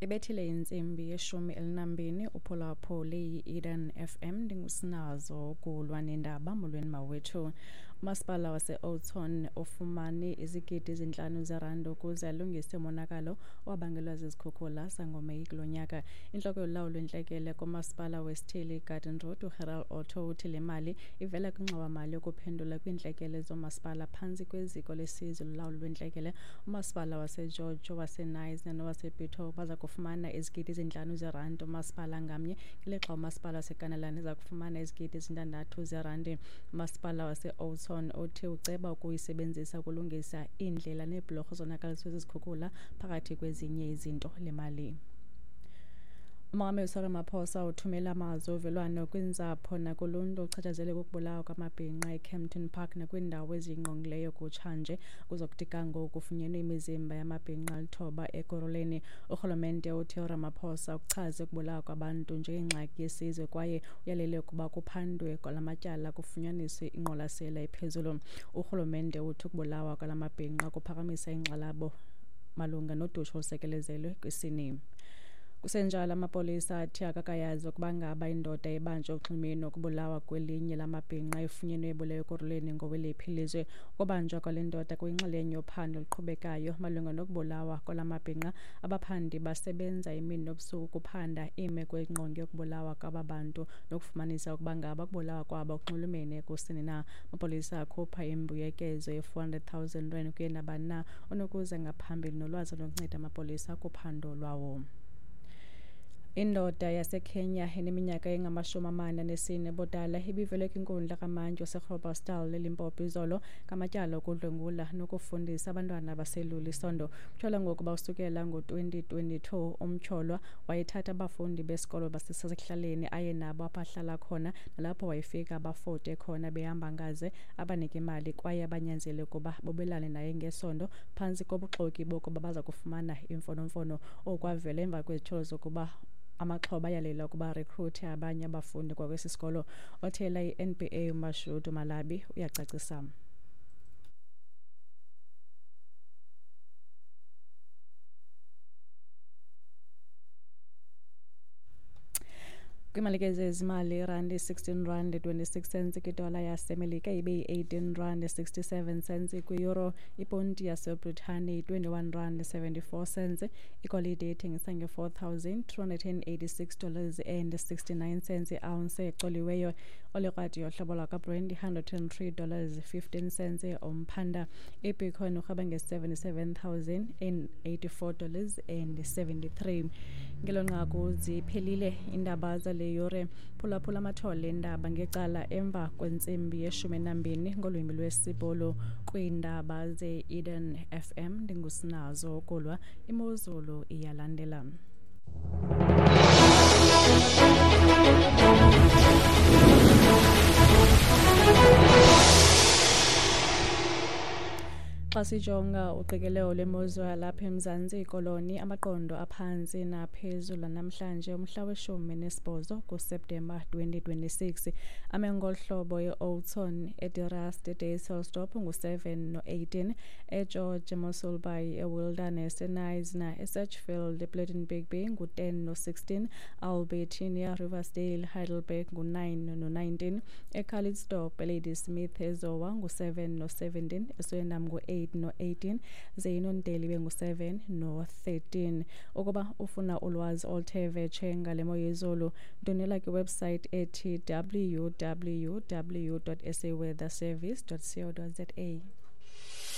Ibethile intsimbi ye-12 uphulaphule yi-Eden FM. Ndingusinazo kulwa nendaba. Molweni mawethu. Umasipala wase-Oudtshoorn ufumane izigidi ezintlanu zerandi ukuze alungise umonakalo owabangelwa zizikhukhula zangoMeyi kulo nyaka. Intloko yolawulo lwentlekele kumasipala wesithili iGarden Road, uGerald Otto, uthi le mali ivela kwingxowa-mali yokuphendula kwiintlekele zoomasipala phantsi kweziko lesizwe lolawulo lwentlekele. Umasipala waseGeorge, owaseKnysna nowaseBitou baza kufumana izigidi ezintlanu zerandi umasipala ngamnye, ngelixa umasipala waseKanalani eza kufumana izigidi ezintandathu zerandi. Umasipala wase-Oudtshoorn uthi uceba ukuyisebenzisa ukulungisa iindlela neebhulorho zonakaliswe zizikhukhula phakathi kwezinye izinto le mali. Umongameli Cyril Ramaphosa uthumela amazwi ovelwano kwiintsapho nakuluntu ochatshazelwe kukubulawa kwamabhinqa eKempton Park nakwiindawo eziyingqongileyo kutshanje. Kuzokuthi ga ngoku kufunyenwe imizimba yamabhinqa 9 Ekurhuleni. Urhulumente uthi uRamaphosa ukuchaze ukubulawa kwabantu njengengxaki yesizwe kwaye uyalele ukuba kuphandwe kwala matyala kufunyaniswe ingqwalasela ephezulu. Urhulumente uthi ukubulawa kwala mabhinqa kuphakamisa ingxalabo malunga nodushe olusekelezelwe kwisini. Kusenjalo, amapolisa athi akakayazi ukuba ngaba indoda ebanjwe uxhimini nokubulawa kwelinye lamabhinqa efunyenwe ebulewe Ekurhuleni ngoweliphi ilizwe. Ukubanjwa kwale ndoda kuyinxalenye yophando oluqhubekayo malunga nokubulawa kwala mabhinqa. Abaphandi basebenza imini nobusuku ukuphanda iimeko engqonge yokubulawa kwaba bantu nokufumanisa ukuba ngaba ukubulawa kwabo kunxulumene kusini na. Amapolisa akhupha imbuyekezo ye-400 000 rand kuye nabani na onokuza ngaphambili nolwazi olunokunceda amapolisa kuphando lwawo. Indoda yaseKenya eneminyaka engama-44 ubudala ibivele kwinkundla kamantyi waseGroblersdal eLimpopo izolo ngamatyala okudlwengula nokufundisa abantwana abaselula isondo. Kutyholwa ngokuba usukela ngo-2022 umtyholwa wayethatha abafundi besikolo basesekuhlaleni aye nabo apho ahlala khona, nalapho wayefika abafote khona behamba ngaze, abanike imali kwaye abanyanzele ukuba bobelane naye ngesondo phantsi kobuxoki bokuba baza kufumana imfonomfono. Oku kwavela emva kwezityholo zokuba amaxhoba ayalela ukuba recruite abanye abafundi kwakwesi sikolo. Othela i-NPA uMashudu Malabi uyacacisa. Kwimalike zezimali, irandi 16 rand 26 cents kwidola yaseMelika, ibe yi-18 rand 67 cents kwi-euro, iponti yaseBritane yi-21 rand 74 cents. Igolide ithengisa nge-$4,286 dollars and 69 cents i-ounce ecoliweyo. Olikrwadi yohlobo lwakwaBrent i-103 dollars 15 cents umphanda. Ibitcoin urhweba nge-$77,084 dollars and 73. Ngelo nqaku ziphelile iindaba zale yure. Phulaphula amathole endaba ngecala emva kwentsimbi ye-12 ngolwimi lwesiBhulu kwiindaba ze-Eden FM. Ndingusinazo Kulwa. Imozulu iyalandela. Xa sijonga uqikelelo lwemozulu yalapha eMzantsi Koloni, amaqondo aphantsi naphezulu namhlanje umhla we-18 kuSeptemba 2026 ame ngolu hlobo: e-Oudtshoorn, eDe Rust, eDysselsdorp ngu-7 no-18, eGeorge, eMossel Bay, eWilderness, eKnysna, eSedgefield, ePlettenberg ngu-10 no-16, Albertinia, Riversdale, Heidelberg ngu-9 no-19, eCalitzdorp, eLadysmith, eZowa ngu-7 no-17, eSwellendam ngu-8 no-18, ze iNonteli ibe ngu-7 no-13. Ukuba ufuna ulwazi oluthe vetshe ngale mo yezulu, ndwendwela kwiwebsite ethi www.saweatherservice.co.za.